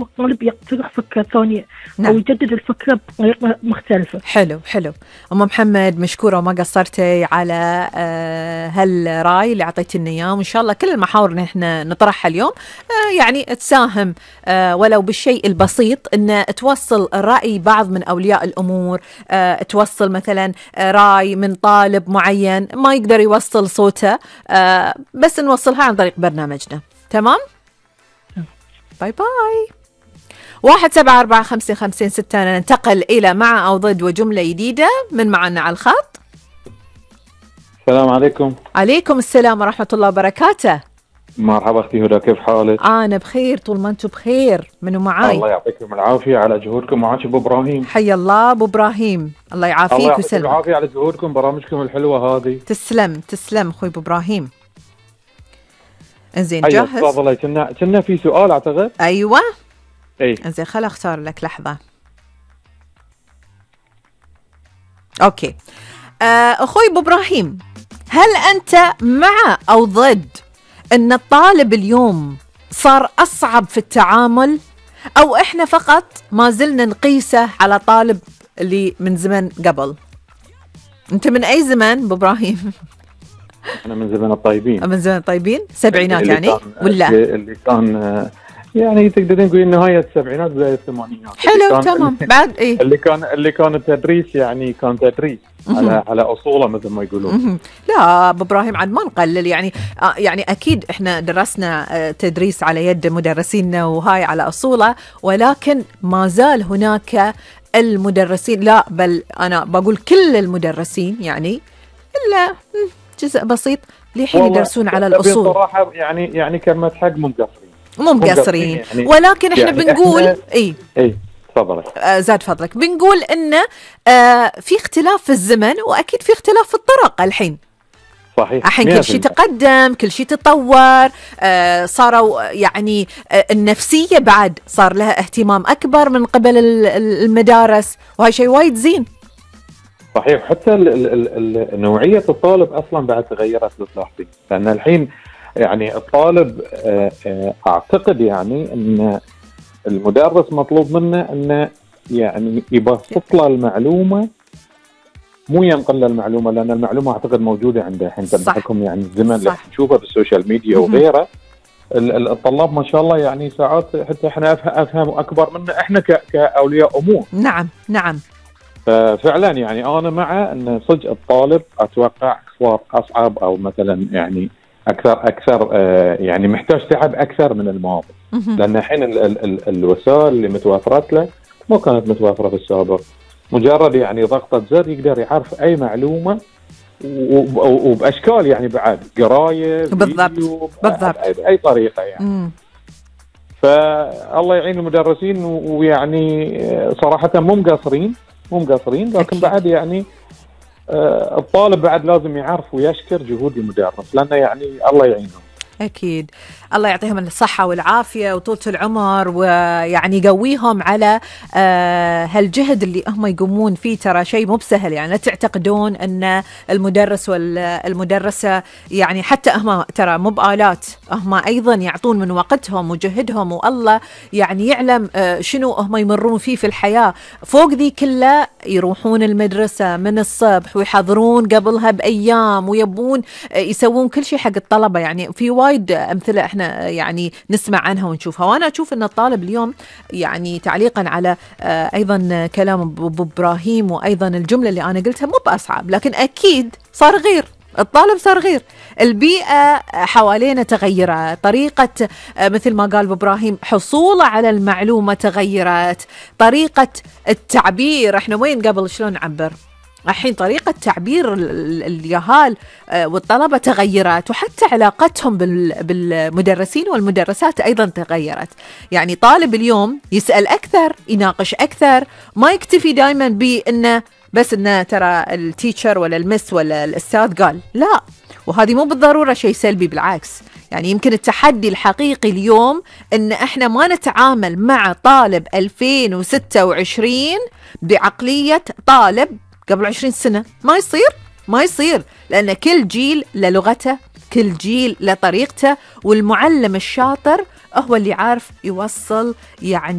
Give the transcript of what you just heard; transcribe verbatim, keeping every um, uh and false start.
الطالب يقترح فكرة ثانية. نعم. أو يجدد الفكرة بطريقة مختلفة. حلو حلو. أم محمد مشكورة وما قصرتي على هالرأي اللي عطيتنا إياه، وإن شاء الله كل المحاور اللي إحنا نطرحها اليوم يعني تساهم ولو بالشيء البسيط، إن توصل رأي بعض من أولياء الأمور، توصل مثلا رأي من طالب معين ما يقدر يوصل صوته، بس نوصلها عن طريق برنامجنا. تمام؟ باي باي. واحد سبعة أربعة خمسة خمسين ستة. ننتقل إلى مع أو ضد وجملة جديدة. من معنا على الخط؟ السلام عليكم. عليكم السلام ورحمة الله وبركاته. مرحبا أختي هدى، كيف حالك؟ أنا بخير طول ما أنتم بخير. منو معاي؟ الله يعطيكم العافية على جهودكم. معاك أبو إبراهيم. حي الله أبو إبراهيم، الله يعافيك ويسلمك. الله يعطيكم العافية على جهودكم، برامجكم الحلوة هذه. تسلم تسلم أخوي أبو إبراهيم. إنزين أيوة جاهز؟ تفضلي. كنا كنا في سؤال أعتقد. أيوة. اي انزين خل اختار لك لحظة. اوكي. آه اخوي ابو ابراهيم، هل انت مع او ضد ان الطالب اليوم صار اصعب في التعامل، او احنا فقط ما زلنا نقيسه على طالب اللي من زمن قبل؟ انت من اي زمن ابو ابراهيم؟ انا من زمن الطيبين. من زمن الطيبين سبعينات يعني ولا اللي كان يعني تقدرين تقولين نهاية السبعينات بداية الثمانينات. حلو تمام. بعد ايه اللي كان اللي كان التدريس يعني كان تدريس على على اصوله مثل ما يقولون. لا ابو ابراهيم عاد ما نقلل يعني آه يعني اكيد احنا درسنا آه تدريس على يد مدرسينا وهاي على اصوله، ولكن ما زال هناك المدرسين، لا بل انا بقول كل المدرسين يعني الا جزء بسيط لحين يدرسون على الاصول. بصراحه يعني يعني كلمه حق مو مقصرين مو مقصرين يعني، ولكن احنا يعني بنقول احنا اي اي تفضلي. آه زاد فضلك. بنقول ان آه في اختلاف في الزمن، واكيد في اختلاف في الطرق الحين. صحيح. الحين كل شيء تقدم، كل شيء تطور، آه صاروا يعني آه النفسيه بعد صار لها اهتمام اكبر من قبل المدارس، وهي شيء وايد زين. صحيح. حتى ال ال ال نوعيه الطالب اصلا بعد تغيرت لو تلاحظين، لان الحين يعني الطالب اعتقد يعني ان المدرس مطلوب منه انه يعني يبسط له المعلومه، مو ينقل له المعلومه، لان المعلومه اعتقد موجوده عنده الحين بحكم يعني الزمن اللي نشوفه بالسوشيال ميديا وغيره. الطلاب ما شاء الله يعني ساعات حتى احنا افهم اكبر منه احنا كاولياء امور. نعم نعم. ففعلا يعني انا مع ان صدق الطالب اتوقع صار اصعب، او مثلا يعني اكثر اكثر آه يعني محتاج تعب اكثر من الماضي، لان الحين ال ال ال الوسائل اللي متوفرت له ما كانت متوفره في السابق. مجرد يعني ضغطه زر يقدر يعرف اي معلومه وباشكال يعني بعد قرايه بالضبط بالضبط باي طريقه يعني. مم. فالله يعين المدرسين، ويعني صراحه مو مقصرين مو مقصرين لكن أكيد. بعد يعني آه الطالب بعد لازم يعرف ويشكر جهود المدرس، لأنه يعني الله يعينهم. أكيد. الله يعطيهم الصحة والعافية وطولة العمر، ويعني يقويهم على آه هالجهد اللي هم يقومون فيه. ترى شيء مو بسهل يعني، لا تعتقدون أن المدرس والمدرسة يعني حتى هم ترى مو بآلات، هم أيضا يعطون من وقتهم وجهدهم، والله يعني يعلم آه شنو هم يمرون فيه في الحياة. فوق ذي كلها يروحون المدرسة من الصبح ويحضرون قبلها بأيام، ويبون آه يسوون كل شيء حق الطلبة. يعني في وايد أمثلة احنا يعني نسمع عنها ونشوفها. وانا اشوف ان الطالب اليوم يعني تعليقا على آه ايضا كلام ابو ابراهيم وايضا الجملة اللي انا قلتها، مو باصعب لكن اكيد صار غير. الطالب صار غير، البيئة حوالينا تغيرت، طريقة آه مثل ما قال ابو ابراهيم حصوله على المعلومة تغيرت، طريقة التعبير. احنا وين قبل شلون نعبر؟ الحين طريقة تعبير اليهال والطلبة تغيرت، وحتى علاقتهم بالمدرسين والمدرسات أيضا تغيرت. يعني طالب اليوم يسأل أكثر، يناقش أكثر، ما يكتفي دائما بأنه بس أنه ترى التيتشر ولا المس ولا الأستاذ قال، لا. وهذه مو بالضرورة شيء سلبي، بالعكس. يعني يمكن التحدي الحقيقي اليوم أن احنا ما نتعامل مع طالب ألفين وستة وعشرين بعقلية طالب قبل عشرين سنة. ما يصير ما يصير، لأن كل جيل للغته، كل جيل لطريقته، والمعلم الشاطر هو اللي عارف يوصل يعني